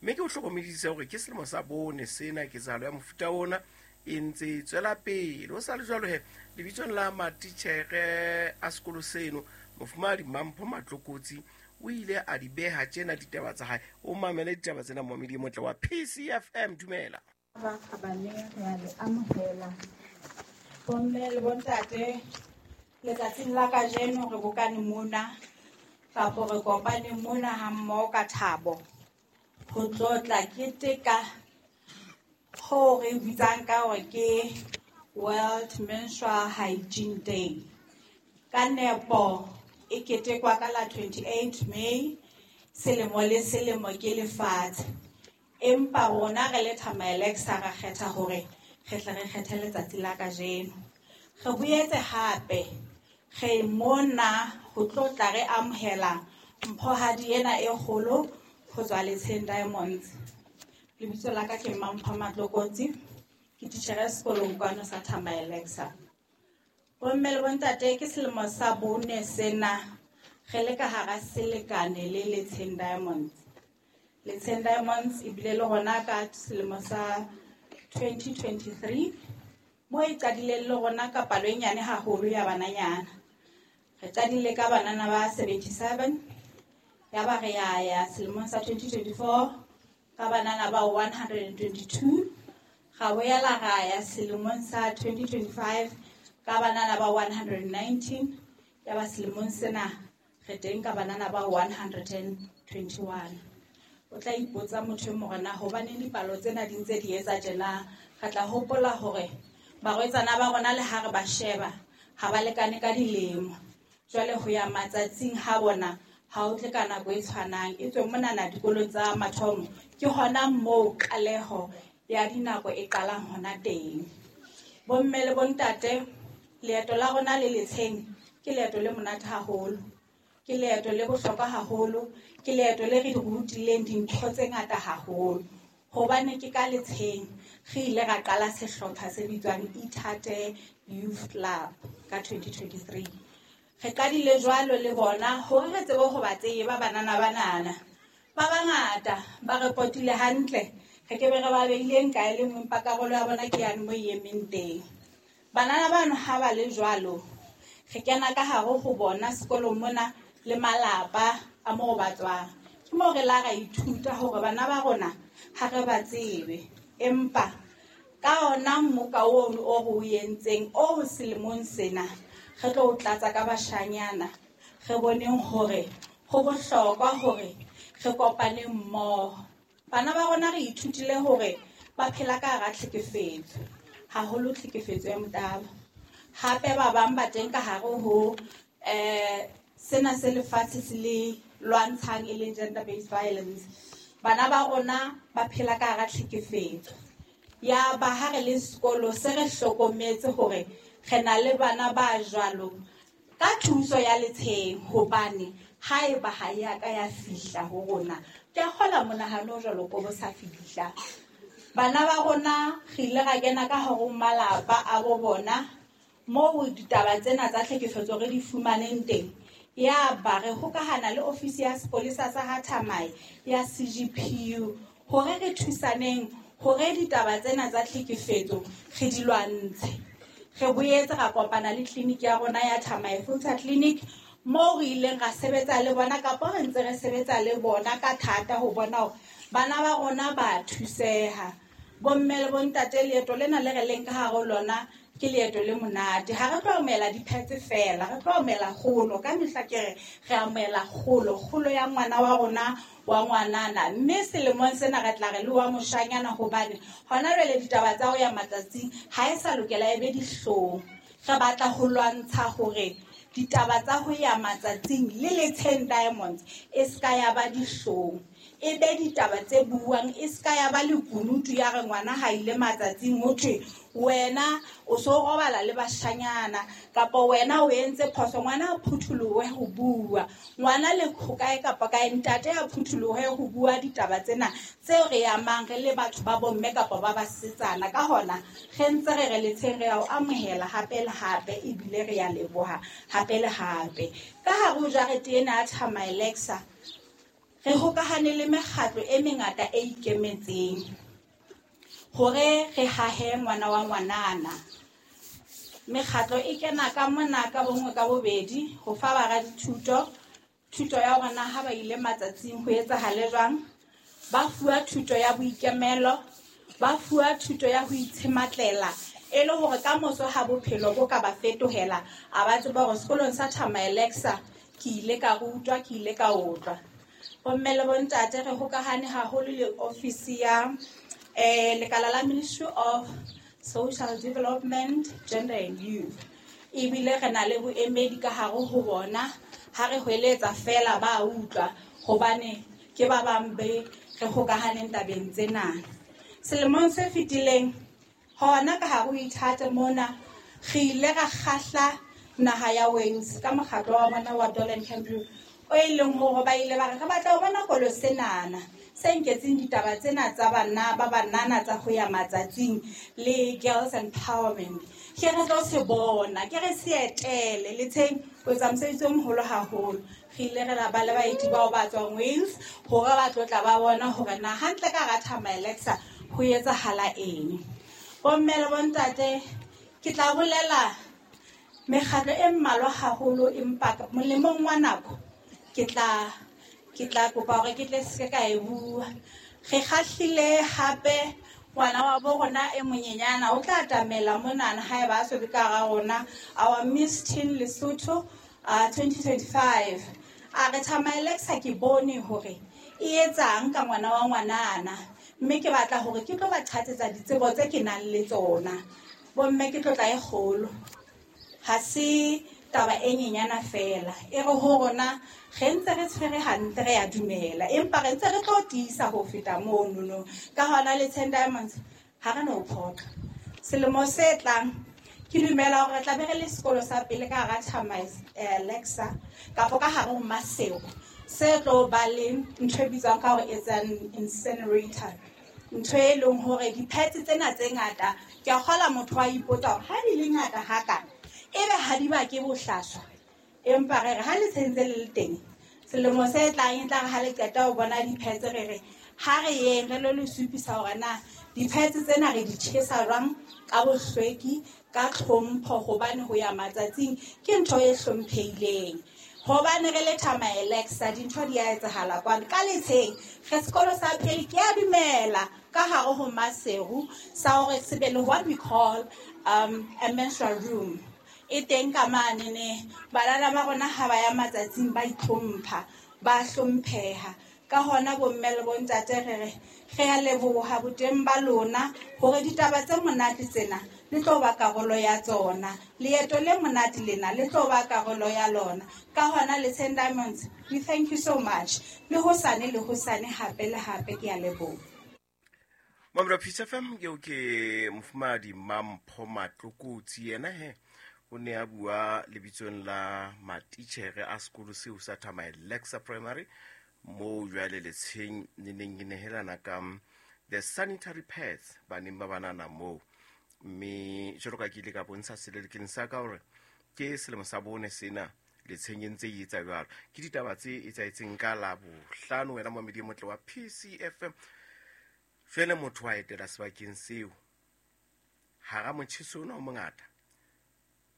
Mme ke o hlokomedise hore ke selemo sa bone sena ketsahalo ya mofuta ona e ntse e tswela pele. Ho sa le jwalo he, lebitsong la matitjhere a sekolo seno, Mofumahadi Mampho Matlokotsi o ile a di beha tjena ditaba tsa hae. O mamele ditaba tsena momamedi e motle wa PCFM. Dumela. Ba kgabane, re a le amohela. Bomme le bontate, letsatsing la kajeno re bokane mona kapo re kopane mona ha mmoho ka thabo ho tlotla keteka ho re bitsang ka hore ke World Menstrual Hygiene Day. Ka nepo e ketekwa ka la 28 May selemo le selemo ke lefatshe. Empa rona re le Thamaelexa ra kgetha hore re tle re kgethe letsatsi la kajeno. Re boetse hape re mona ho tlotla re amohela mphohadi ena e kgolo ho tswa Letsheng Diamonds. Lebitso la ka ke Mampho Matlokotsi, ke titjhere sekolong kwano sa Thamaelexa. Bomme le bontate, ke selemo sa bone sena re le ka hara selekane le Letsheng Diamonds. Letsheng Diamonds ebile le rona ka selemo sa 2023 mo e qadileng le rona ka palo e nyane haholo ya bananyana. Re qadile ka banana ba 77, ya ba re ya ya selemong sa 2024 ka banana ba 122, ra boela ra ya selemong sa 2025 ka banana ba 119, ya ba selemong sena re teng ka banana ba 121. O tla ipotsa motho e mong na hobaneng dipalo tsena di ntse di etsa tjena. Re tla hopola hore barwetsana ba rona le ha re ba sheba ha ba lekane ka dilemo. Jwale ho ya matsatsing ha bona ha o tle ka nako e tshwanang. E tswe monana dikolong tsa mathomo ke hona moo qaleho ya dinako e qalang hona teng. Bomme le bontate, leeto la rona le Letsheng ke leeto le monate haholo. Ke leeto le bohlokwa haholo, ke leeto le re rutileng dintho tse ngata haholo. Hobane ke ka Letsheng re ile ra qala sehlopha se bitswang Ithate Youth Club ka 2023. Re qadile jwalo le bona hore re tsebe ho ba tseba banana banana. Ba bangata ba re potile hantle, re ke be re ba beileng kae le nngwe, empa karolo ya bona ke yane mo e emeng teng. Banana bano ha ba le jwalo, re kena ka hare ho bona sekolong mona le malapa a moo ba tswang. Ke moo re la ra ithuta hore bana ba rona ha re ba tsebe, empa ka ona mmoka ono o re o entseng o selemong sena re tlo o tlatsa ka bashanyana, re boneng hore ho bohlokwa hore re kopane mmoho. Bana ba rona re ithutile hore ba phela ka hara tlhekefetso, haholo tlhekefetso ya motabo. Hape ba bang ba teng ka hare ho sena se lefatshe se le lwantshang e leng gender based violence. Bana ba rona ba phela ka hara tlhekefetso. Ya ba ha re le sekolo se re hlokometse hore re na le bana ba jwalo ka thuso ya Letsheng, hobane haeba ha ya ka ya fihla ho rona, ke a kgola monahano o jwalo ko bo sa fihla. Bana ba rona re ile ra kena ka hare ho malapa a bo bona moo ditaba tsena tsa tlhekefetso re di fumaneng teng. Ya ba re hokahana le ofisi ya sepolesa sa ha Thamae ya CGPU hore re thusaneng hore ditaba tsena tsa tlhekefetso re di lwantshe. Re boetse ra kopana le tleliniki ya rona ya Thamae Filter Clinic moo re ileng ra sebetsa le bona, kapa re ntse re sebetsa le bona ka thata ho bona hore bana ba rona ba thuseha. Bomme le bontate, leeto lena le re leng ka hare ho lona ke leeto le monate. Ha re tlo amohela di-pads fela, re tlo amohela kgolo. Ka mehla ke re re amohela kgolo, kgolo ya ngwana wa rona wa ngwanana. Mme selemong sena re tla re le wa moshanyana, hobane hona jwale ditaba tsa ho ya matsatsing ha e sa lokela e be dihlong. Re batla ho lwantsha hore ditaba tsa ho ya matsatsing le Letsheng Diamonds e ska ya ba dihlong, e be ditaba tse buang, e ska ya ba lekunutu ya re ngwana ha ile matsatsing ho thwe wena o so robala le bashanyana, kapa wena o entse phoso. Ngwana a phutholohe ho bua, ngwana le ho kae kapa kae, ntate a phutholohe ho bua ditaba tsena tseo re amang re le batho ba bomme kapa ba basetsana. Ka hona re ntse re re Letsheng re ya o amohela hape le hape, ebile re ya leboha hape le hape. Ka hare ho jarete ena ya Thamaelexa Re hokahane le mekgatlo e mengata e ikemetseng hore re hahe ngwana wa ngwanana. Mekgatlo e kena ka mona ka bonngwe ka bobedi ho fa baradithuto thuto ya hore na ha ba ile matsatsing ho etsahale jwang. Ba fuwa thuto ya boikemelo, ba fuwa thuto ya ho itshematlela e le hore ka moso ha bophelo bo ka ba fetohela a ba tseba hore sekolong sa Thamaelexa ke ile ka rutwa, ke ile ka otlwa. Bomme le bontate, re hokahane haholo le ofisi ya lekala la Ministry of Social Development, Gender and Youth. Ebile re na le boemedi ka hare ho bona, ha re hweletsa fela ba utlwa hobane ke ba bang be re hokahaneng tabeng tsena. Selemong se fetileng hona ka hare ho ithate mona re ile ra kgahla naha ya Wales ka mokgatlo wa bona wa Dolan Campbell, o e leng hore ba ile ba re re batla ho bona kolo senana se nketseng ditaba tsena tsa bana ba banana tsa ho ya matsatsing le girls empowerment. Ke re tlo se bona, ke re se etele letsheng o etsa mosebetsi o moholo haholo. Re ile re ba le baeti bao ba tswang Wales hore ba tlo tla ba bona hore na hantle ka hara Thamaelexa ho etsahala eng. Bomme le bontate, ke tla bolela mekgatlo e mmalwa haholo, empa molemong wa nako ke tla kopa hore ke tle se ka e bua. Re kgahlile hape ngwana wa bo rona e monyenyana o tla atamela monana haeba a so be ka hara rona, our Miss Teen Lesotho 2025. A re Thamaelexa ke bone hore e etsang ka ngwana wa ngwanana, mme ke batla hore ke tlo ba qhatsetsa ditsebo tse ke nang le tsona. Bomme, ke tlotla e kgolo, ha se taba e nyenyana fela. E re ho rona re ntse re tshwere hantle, re a dumela, empa re ntse re tlo tiisa ho feta monono. Ka hona le Ten Diamonds ha re no phoqa. Selemo se tlang ke dumela hore re tla be re le sekolo sa pele ka hara Thamaelexa kapa ka hare ho Maseru se tlo ba le ntho e bitswang ka hore it's an incinerator. Ntho e leng hore di-pads tsena tse ngata, ke a kgola motho wa ipotsa hore ha di le ngata hakana ebe ha di bake bohlaswa. Empa re re ha le tshentse le le teng selemo se tlang e tla re ha le qeta ho bona di-pads, re re ha re yeng re lo le supisa hore na di-pads tsena re di tjhesa jwang ka bohlweki, ka tlhompho, hobane ho ya matsatsing ke ntho e hlomphehileng. Hobane re le Thamaelexa dintho di a etsahala kwano ka letsheng. Re sekolo sa pele, ke a dumela, ka hare ho Maseru sa hore se be le what we call a menstrual room. E teng ka mane ne banana ba rona ha ba ya matsatsing ba itlhompha, ba hlompheha. Ka hona bomme le bontate re re re a leboha boteng ba lona hore ditaba tse monate tsena le tlo ba karolo ya tsona. Leeto le monate lena le tlo ba karolo ya lona. Ka hona le Ten Diamonds, we thank you so much. Le hosane le hosane hape le hape, ke a leboha. Mamela Peace FM, eo ke mofumahadi Mampho Matlokotsi. Yena he o ne a bua lebitsong la matitjhere a sekolo seo sa Thamaelexa Primary moo jwale letsheng le neng e nehelana ka the sanitary pads baneng ba banana moo. Mme jwalo ka ke ile ka bontsha selelekeng sa ka hore ke selemo sa bone sena letsheng e ntse e etsa jwalo. Ke ditaba tse etsahetseng ka Labohlano, wena momedi e motle wa PCFM. Jwale motho wa etela sebakeng seo hara motjheso ona o mongata,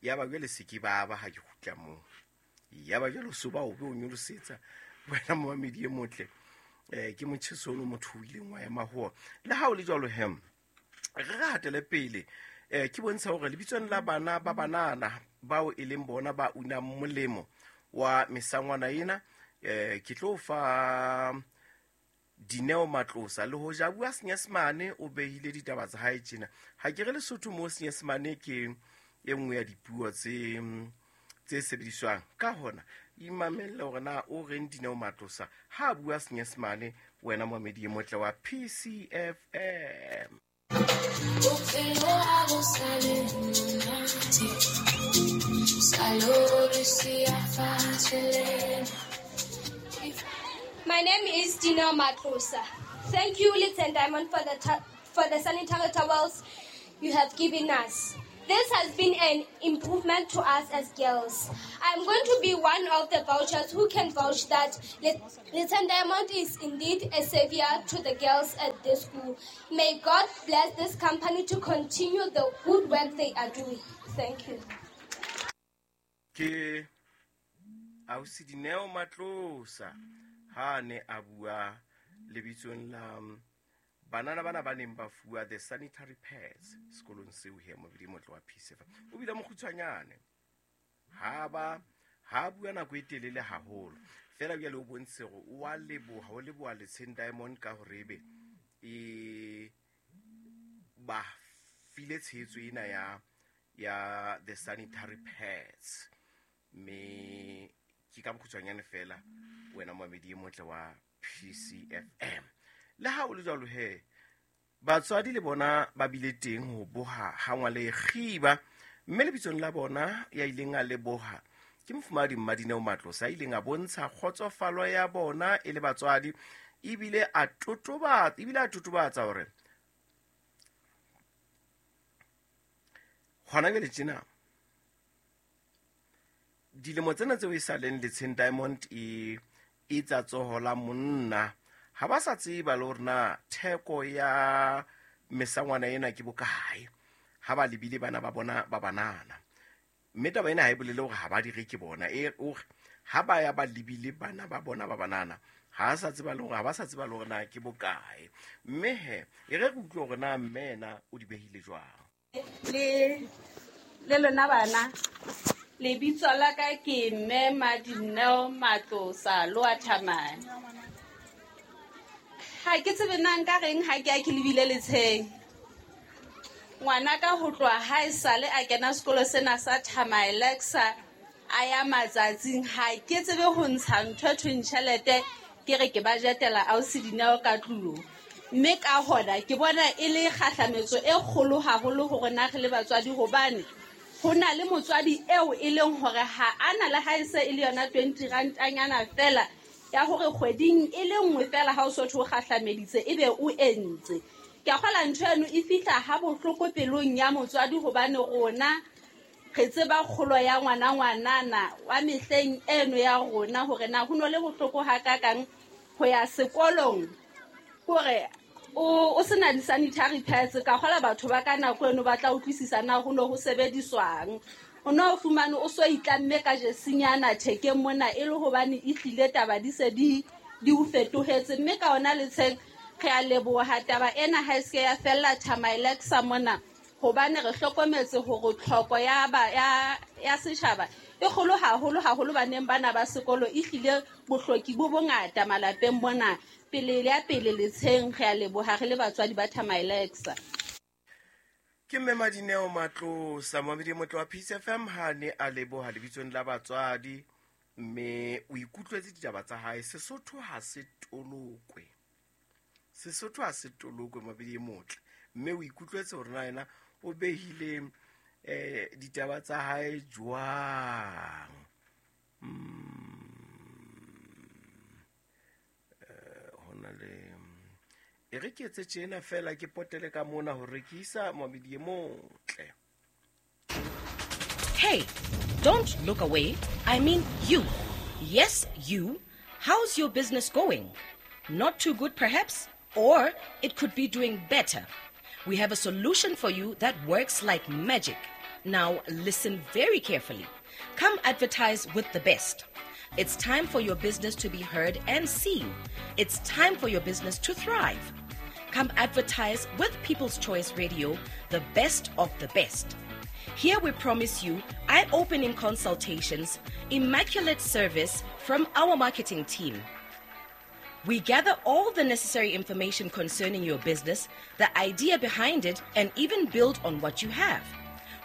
ya ba jwale se ke baba ha ke kgutla moo, ya ba jwale so ba o be o nyolosetsa wena momedi e motle. Ke motjheso ono motho o ileng wa ema ho ona. Le ha o le jwalo hem, re re hatele pele. Ke bontsha hore lebitsong la bana ba banana bao e leng bona ba unang molemo wa mesangwana ena, ke tlo fa Dineo Matlosa. Le hoja bua Senyesemane, o behile ditaba tsa hae tjena. Ha ke re Lesotho mo Senyesemane ke e nngwe ya dipuo tse sebediswang. Ka hona imamelle hore na o reng Dineo Matlosa ha bua Senyesemane, wena momedi e motle wa PCFM. My name is Dineo Matlosa. Thank you, Letsheng Diamond, for the sanitary towels you have given us. This has been an improvement to us as girls. I'm going to be one of the vouchers who can vouch that Letsheng Diamond is indeed a savior to the girls at this school. May God bless this company to continue the good work they are doing. Thank you. Ke ausi Dineo Matlosa ha a ne a bua lebitsong la banana bana ba neng ba fuwa the sanitary pads sekolong seo he mobedi motle wa Peace FM. O bile mokgutshwanyane ha ba ha bua nako e telele haholo fela bjale o bontshe gore o a leboha, o leboha Letsheng Diamond ka hore ebe e ba file tshehetso ena ya the sanitary pads. Mme ke ka bokgutshwanyane fela wena momedi e motle wa PCFM. Le ha o le jwalo he, batswadi le bona ba bile teng ho boha ha ngwale kgiba, mme lebitsong la bona ya ileng a leboha ke mofumahadi Mmadineo Matlosa, a ileng a bontsha kgotsofalo ya bona e le batswadi, ebile a totobatsa hore hona jwale tjena dilemo tsena tseo e sa leng Letsheng Diamond e etsa tsoho la monna, ha ba sa tseba le hore na theko ya mesangwana ena ke bokae ha ba lebile bana ba bona ba banana. Mme taba ena ha e bolele hore ha ba di reke bona, e hore ha ba ya ba lebile bana ba bona ba banana, ha sa tseba le hore ha ba sa tseba le hore na ke bokae. Mme he e re re utlwe hore na mme ena o di behile jwang. Le lona bana, lebitso la ka ke mme Madineo Matlosa Loathamane. Ha ke tsebe na nka reng ha ke a ke lebile Letsheng. Ngwana ka ho tloha ha e sale a kena sekolo sena sa Thamaelexa a ya matsatsing, ha ke tsebe ho ntsha ntho e thweng tjhelete ke re ke bajetela ausi Dineo ka tlung. Mme ka hona ke bona e le kgahlametso e kgolo haholo ho rona re le batswadi, hobane ho na le motswadi eo e leng hore ha ana le ha e se e le yona 20 rantanyana fela ya hore kgweding e le nngwe fela ha o so thwe o kgahlameditse ebe o entse. Ke a kgola ntho eno e fihla ha bohloko pelong ya motswadi, hobane rona re tseba kgolo ya ngwana ngwanana wa mehleng eno ya rona hore na ho no le bohloko hakakang ho ya sekolong hore o sena di-sanitary pads. Ka kgola batho ba ka nako eno ba tla utlwisisa na ho no ho sebediswang. O no fumane o so itlamme ka jesinyana thekeng mona e le hobane e tlile taba di se di o fetohetse. Mme ka ona Letsheng re a leboha taba ena ha e se ya fella Thamaelexa mona, hobane re hlokometse hore tlhoko ya setjhaba e kgolo haholo haholo baneng bana ba sekolo, e hlile bohloki bo bongata malapeng mona. Pele ya pele Letsheng re a leboha re le batswadi ba Thamaelexa. Ke mme Madineo Matlosa, momedi motle wa Peace FM, ha ne a leboha lebitsong la batswadi, mme o ikutlwetse ditaba tsa hae. Sesotho ha se tolokwe, Sesotho ha se tolokwe momedi motle, mme o ikutlwetse hore na yena o behile ditaba tsa hae jwang. Hona le e re ke etse tjena fela ke potele ka mona ho rekisa momedi e motle. Hey, don't look away. I mean you. Yes, you. How's your business going? Not too good perhaps, or it could be doing better. We have a solution for you that works like magic. Now listen very carefully. Come advertise with the best. It's time for your business to be heard and seen. It's time for your business to thrive. Come advertise with People's Choice Radio, the best of the best. Here we promise you eye-opening consultations, immaculate service from our marketing team. We gather all the necessary information concerning your business, the idea behind it, and even build on what you have.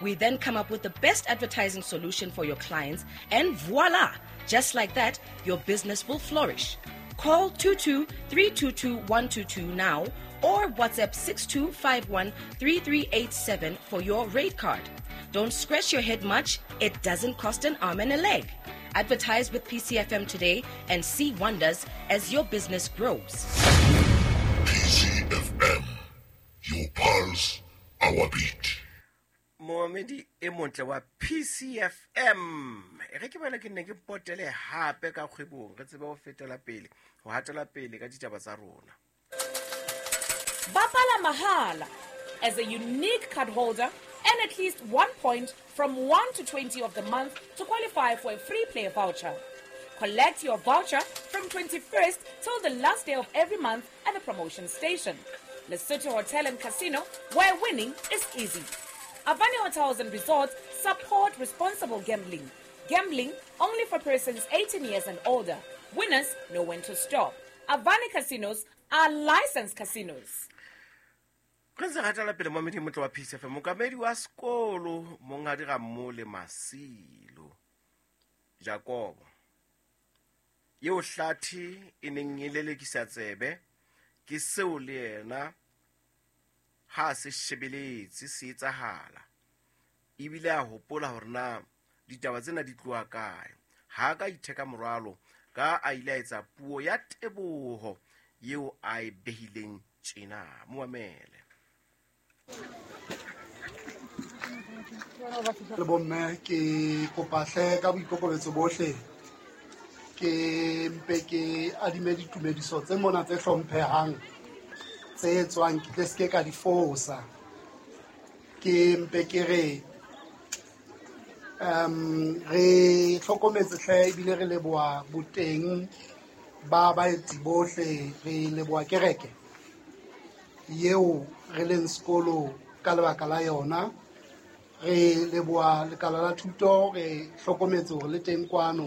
We then come up with the best advertising solution for your clients, and voila! Just like that, your business will flourish. Call 22-322-122 now or WhatsApp 6251-3387 for your rate card. Don't scratch your head much. It doesn't cost an arm and a leg. Advertise with PCFM today and see wonders as your business grows. PCFM, your pulse, our beat. Mohammed Momamedi e motle wa PCFM, e re ke bana ke nne ke potele hape ka kgwebong, re tsebe ho fetela pele, ho hatela pele ka ditaba tsa rona. Bapala mahala. As a unique card holder, earn at least 1 point from 1 to 20 of the month to qualify for a free play voucher. Collect your voucher from 21st till the last day of every month at the promotion station. Lesotho Hotel and Casino, where winning is easy. Avani Hotels and Resorts support responsible gambling. Gambling only for persons 18 years and older. Winners know when to stop. Avani Casinos are licensed casinos. Re ntse re hatela pele, momamedi motle wa PCFM, mookamedi wa sekolo, monghadi Rammole Masilo Jakobo, eo hlathe e neng e lelekisa tsebe ke seo le yena ha se shebeletse se etsahala, ebile a hopola hore na ditaba tsena di tloha kae, ha ka itheka morwalo ka a ile a etsa puo ya teboho eo a e behileng tjena. Mo mamele. Le bomme, ke kopa hle ka boikokobetso bohle, ke mpe ke adime ditumediso tse mona tse hlomphehang tse tswang, ke tle seke ka di fosa. Ke mpe ke re re hlokometse hle, ebile re leboha boteng ba baeti bohle. Re leboha kereke eo re leng sekolo ka lebaka la yona. Re leboha lekala la thuto, re hlokometse hore le teng kwano.